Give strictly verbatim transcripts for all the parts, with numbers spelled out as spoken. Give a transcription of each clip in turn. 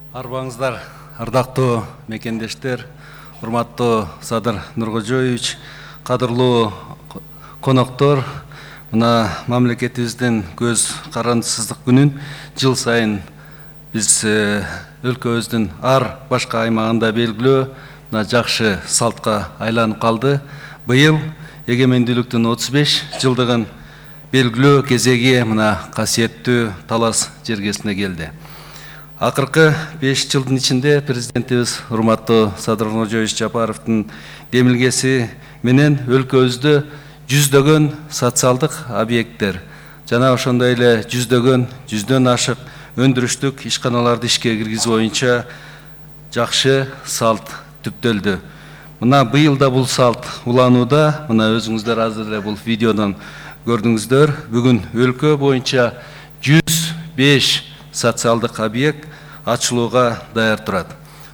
Арбаңыздар, ардактуу мекендештер, урматтуу Садыр Нуркожоевич, кадырлуу коноктор, мына мамлекетибиздин көз карандысыздык күнүн жыл сайын биз өлкөбүздүн ар башка аймагында белгилөө мына жакшы салтка айланып калды. Быйыл эгемендүүлүктүн отуз беш жылдыгын белгилөө кезеги мына касиеттүү Талас жергесине келди. Акыркы беш жылдын ичинде президентибиз урматтуу Садыр Нуркожоевич Жапаровдун демилгеси менен өлкөбүздө жүздөгөн социалдык объекттер жана ошондой эле жүздөгөн жүздөн ашык өндүрүштүк ишканаларды ишке киргизүү боюнча жакшы салт түптөлдү. Мына быйыл да бул салт уланууда. Мына өзүңүздөр азыр эле бул видеодон көрдүңүздөр. Бүгүн өлкө боюнча жүз беш социалдык объект ачылууга даяр турат.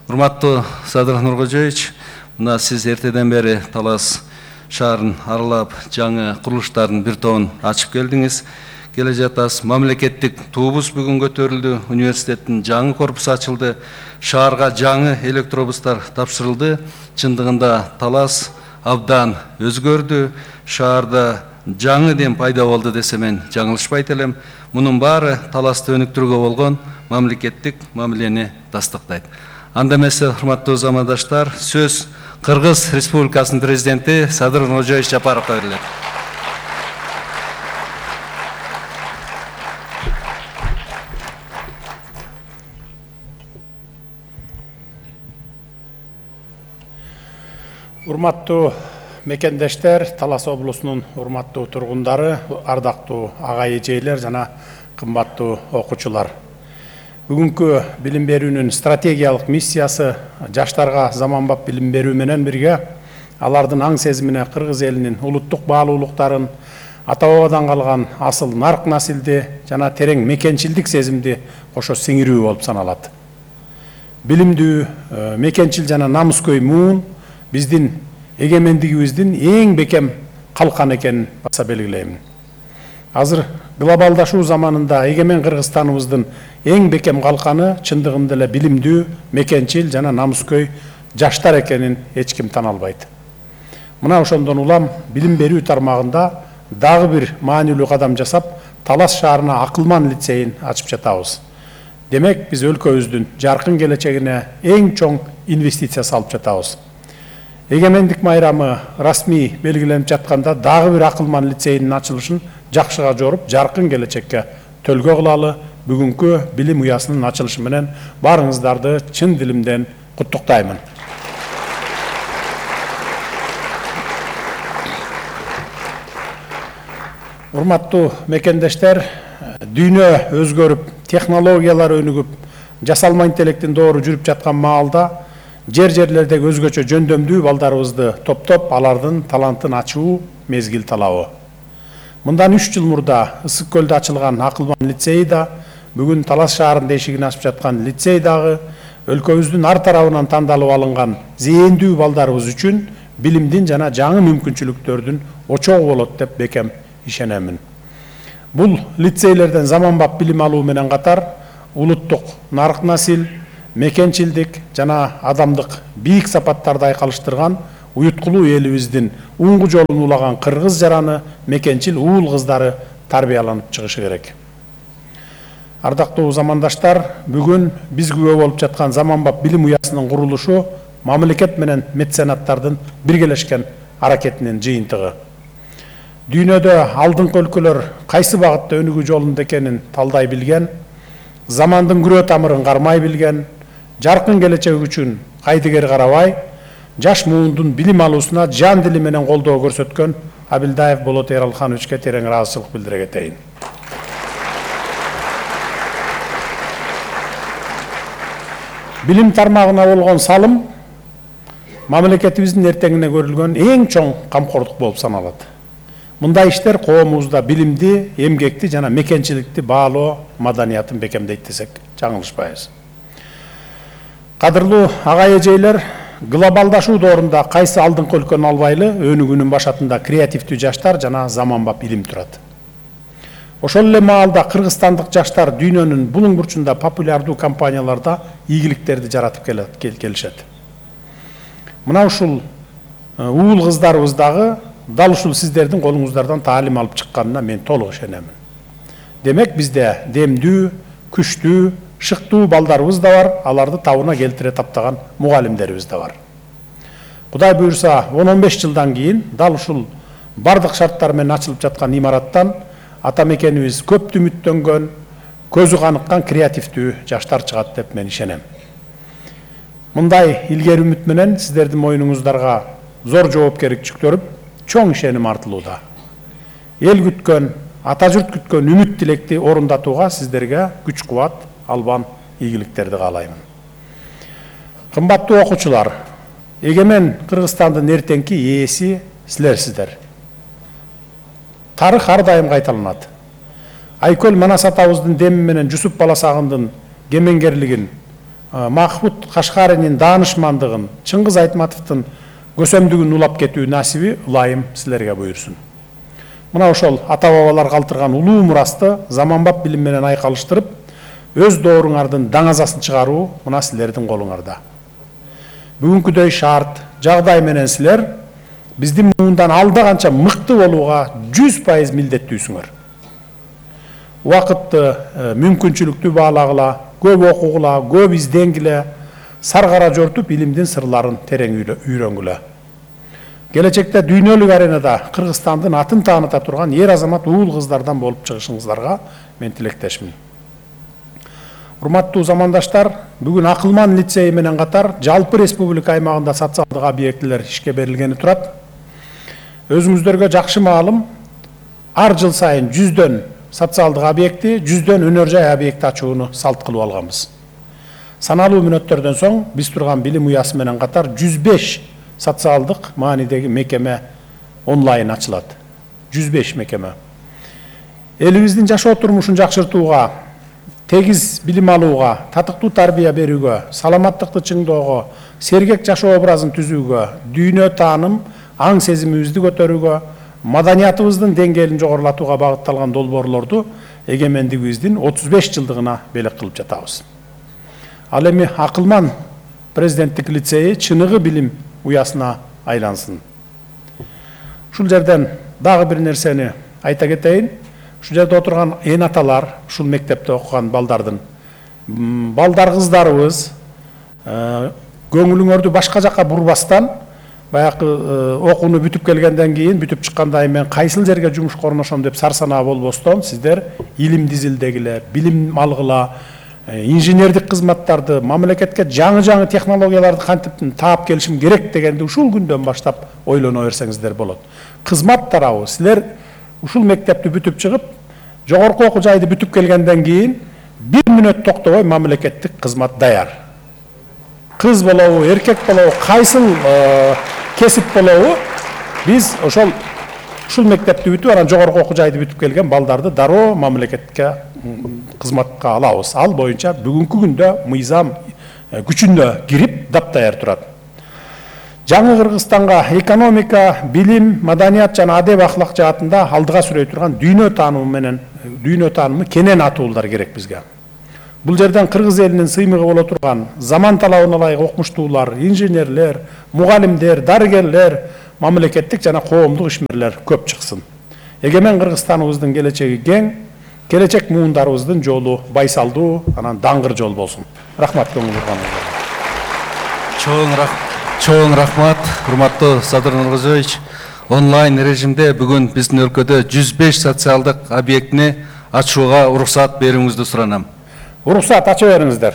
Урматтуу Садыр Нуркожоевич, мына сиз эртеден бери Талас шаарын аралап жаңы курулуштардын бир тобун ачып келдиңиз. Келе жатасыз. Мамлекеттик туубуз бүгүн көтөрүлдү. Университеттин жаңы корпусу ачылды. Шаарга жаңы электробустар тапшырылды. Чындыгында Талас абдан өзгөрдү. Шаарда жаңы дем пайда болду десе мен жаңылышпайт элем. Мунун баары Таласты өнүктүрүүгө болгон мамлекеттик мамилени тастыктайт. Анда эмесе, урматтуу замандаштар, сөз Кыргыз Республикасынын президенти Садыр Нуркожоевич Жапаровго берилет. Урматтуу мекендештер, Талас облусунун урматтуу тургундары, ардактуу ага эжейлер жана кымбаттуу окуучулар. Бүгүнкү билим берүүнүн стратегиялык миссиясы жаштарга заманбап билим берүү менен бирге алардын аң сезимине кыргыз элинин улуттук баалуулуктарын, ата бабадан калган асыл нарк насилди жана терең мекенчилдик сезимди кошо сиңирүү болуп саналат. Билимдүү, мекенчил жана намыскөй муун биздин эгемендигибиздин эң бекем калкан экенин баса белгилеймин. Азыр глобалдашуу заманында эгемен Кыргызстаныбыздын эң бекем калканы чындыгында эле билимдүү, мекенчил жана намыскөй жаштар экенин эч ким тана албайт. Мына ошондон улам билим берүү тармагында дагы бир маанилүү кадам жасап, Талас шаарына акылман лицейин ачып жатабыз. Демек, биз өлкөбүздүн жаркын келечегине эң чоң инвестиция салып жатабыз. Эгемендик майрамы расмий белгиленип жатканда дагы бир акылман лицейдин ачылышын жакшыга жоруп, жаркын келечекке төлгө кылалы. Бүгүнкү билим уясынын ачылышы менен баарыңыздарды чын дилимден куттуктаймын. Урматтуу мекендештер, дүйнө өзгөрүп, технологиялар өнүгүп, жасалма интеллекттин доору жүрүп жаткан маалда жер-жерлердеги өзгөчө жөндөмдүү балдарыбызды топтоп, алардын талантын ачуу мезгил талабы. Мындан үч жыл мурда Ысык көлдө ачылган акылман лицей да, бүгүн Талас шаарында эшигин ачып жаткан лицей дагы өлкөбүздүн ар тарабынан тандалып алынган зээндүү балдарыбыз үчүн билимдин жана жаңы мүмкүнчүлүктөрдүн очогу болот деп бекем ишенемин. Бул лицейлерден заманбап билим алуу менен катар улуттук нарк насил, мекенчилдик жана адамдык бийик сапаттарды айкалыштырган уюткулуу элибиздин уңгу жолун улаган кыргыз жараны, мекенчил уул кыздары тарбияланып чыгышы керек. Ардактуу замандаштар, бүгүн биз күбө болуп жаткан заманбап билим уясынын курулушу мамлекет менен меценаттардын биргелешкен аракетинин жыйынтыгы. Дүйнөдө алдыңкы өлкөлөр кайсы багытта өнүгүү жолунда экенин талдай билген, замандын күрөө тамырын кармай билген, жаркын келечек үчүн кайдыгер карабай, жаш муундун билим алуусуна жан дили менен колдоо көрсөткөн Абилдаев Болот Эралхановичке терең ыраазычылык билдире кетейин. Билим тармагына болгон салым мамлекетибиздин эртеңине көрүлгөн эң чоң камкордук болуп саналат. Мындай иштер коомубузда билимди, эмгекти жана мекенчиликти баалоо маданиятын бекемдейт десек жаңылышпайбыз. Кадырлуу ага эжейлер, глобалдашуу доорунда кайсы алдыңкы өлкөнү албайлы, өнүгүүнүн башатында креативдүү жаштар жана заманбап илим турат. Ошол эле маалда кыргызстандык жаштар дүйнөнүн булуң бурчунда популярдуу компанияларда ийгиликтерди жаратып келишет. Мына ушул уул кыздарыбыз дагы дал ушул сиздердин колуңуздардан таалим алып чыкканына мен толук ишенемин. Демек бизде демдүү, күчтүү, шыктуу балдарыбыз да бар, аларды табына келтире таптаган мугалимдерибиз да бар. Кудай буюрса, он он беш жылдан кийин дал ушул бардык шарттар менен ачылып жаткан имараттан ата мекенибиз көптү үмүттөнгөн, көзү каныккан креативдүү жаштар чыгат деп мен ишенем. Мындай илгери үмүт менен сиздердин мойнуңуздарга зор жоопкерчилик жүктөрүп, чоң ишеним артылууда. Эл күткөн, ата журт күткөн үмүт тилекти орундатууга сиздерге күч кубат, албан ийгиликтерди каалаймын. Кымбаттуу окуучулар, эгемен Кыргызстандын эртеңки ээси силерсиздер. Тарых ар дайым кайталанат. Айкөл Манас атабыздын деми менен Жусуп Баласагындын кемеңгерлигин, Махмуд Кашкаринин даанышмандыгын, Чыңгыз Айтматовдун көсөмдүгүн улап кетүү насиби ылайым силерге буйрсун. Мына ошол ата-бабалар калтырган улуу мурасты заманбап билим менен айкалыштырып, өз дооруңардын даңазасын чыгаруу мына силердин колуңарда. Бүгүнкүдөй шарт, жагдай менен силер биздин муундан алда канча мыкты болууга жүз пайыз милдеттүүсүңөр. Убакытты мүмкүнчүлүктүү баалагыла, көп окугула, көп изденгиле, саргара жортуп илимдин сырларын терең үйрөнгүлө. Келечекте дүйнөлүк аренада Кыргызстандын атын тааныта турган ер азамат уул кыздардан болуп чыгышыңыздарга мен тилектешмин. Урматтуу замандаштар, бүгүн Акылман лицейи менен катар жалпы республика аймагында социалдык объектилер ишке берилгени турат. Өзүңүздөргө жакшы маалым, ар жыл сайын жүздөн социалдык объекти, жүздөн өнөр жай объекти ачууну салт кылып алганбыз. Саналуу мүнөттөрдөн соң биз турган билим уясы менен катар жүз беш социалдык маанидеги мекеме онлайн ачылат. жүз беш мекеме. Элибиздин жашоо турмушун жакшыртууга, тегиз билим алууга, татыктуу тарбия берүүгө, саламаттыкты чыңдоого, сергек жашоо образын түзүүгө, дүйнө тааным, аң сезимибизди көтөрүүгө, маданиятыбыздын деңгээлин жогорулатууга багытталган долбоорлорду эгемендигибиздин отуз беш жылдыгына белек кылып жатабыз. Ал эми Акылман президенттик лицейи чыныгы билим уясына айлансын. Ушул жерден дагы бир нерсени айта кетейин. Ушул жерде отурган эн аталар, ушул мектепте окуган балдардын балдар кыздарыбыз көңүлүңөрдү башка жакка бурбастан, баягы окууну бүтүп келгенден кийин, бүтүп чыккандай мен кайсыл жерге жумушка орношом деп сарсанаа болбостон, сиздер илим дизилдегиле, билим алгыла, инженердик кызматтарды, мамлекетке жаңы-жаңы технологияларды кантип таап келишим керек дегенди ушул күндөн баштап ойлоно берсеңиздер болот. Кызмат тарабы силер ушул мектепти бүтүп чыгып, жогорку окуу жайды бүтүп келгенден кийин бир мүнөт токтобой мамлекеттик кызмат даяр. Кыз болобу, эркек болобу, кайсыл кесип болобу, биз ошол ушул мектепти бүтүп, анан жогорку окуу жайды бүтүп келген балдарды дароо мамлекетке кызматка алабыз. Ал боюнча бүгүнкү күндө мыйзам күчүнө кирип даптаяр турат. Жаңы Кыргызстанга экономика, билим, маданият жана адеп ахлак жаатында алдыга сүрөй турган дүйнө таанымы менен дүйнө таанымы кенен атуулар керек бизге. Бул жерден кыргыз элинин сыймыгы боло турган заман талабына ылайык окумуштуулар, инженерлер, мугалимдер, дарыгерлер, мамлекеттик жана коомдук ишмерлер көп чыксын. Эгемен Кыргызстаныбыздын келечеги кең, келечек муундарыбыздын жолу байсалдуу, анан даңгыр жол болсун. Рахмат көңүл бурганыңызга. Чоң рахмат. Чоң рахмат, урматтуу Садыр Нуркожоевич. Онлайн режимде бүгүн биздин өлкөдө жүз беш социалдык объектини ачууга уруксат берүүңүздү суранам. Уруксат ача бериңиздер.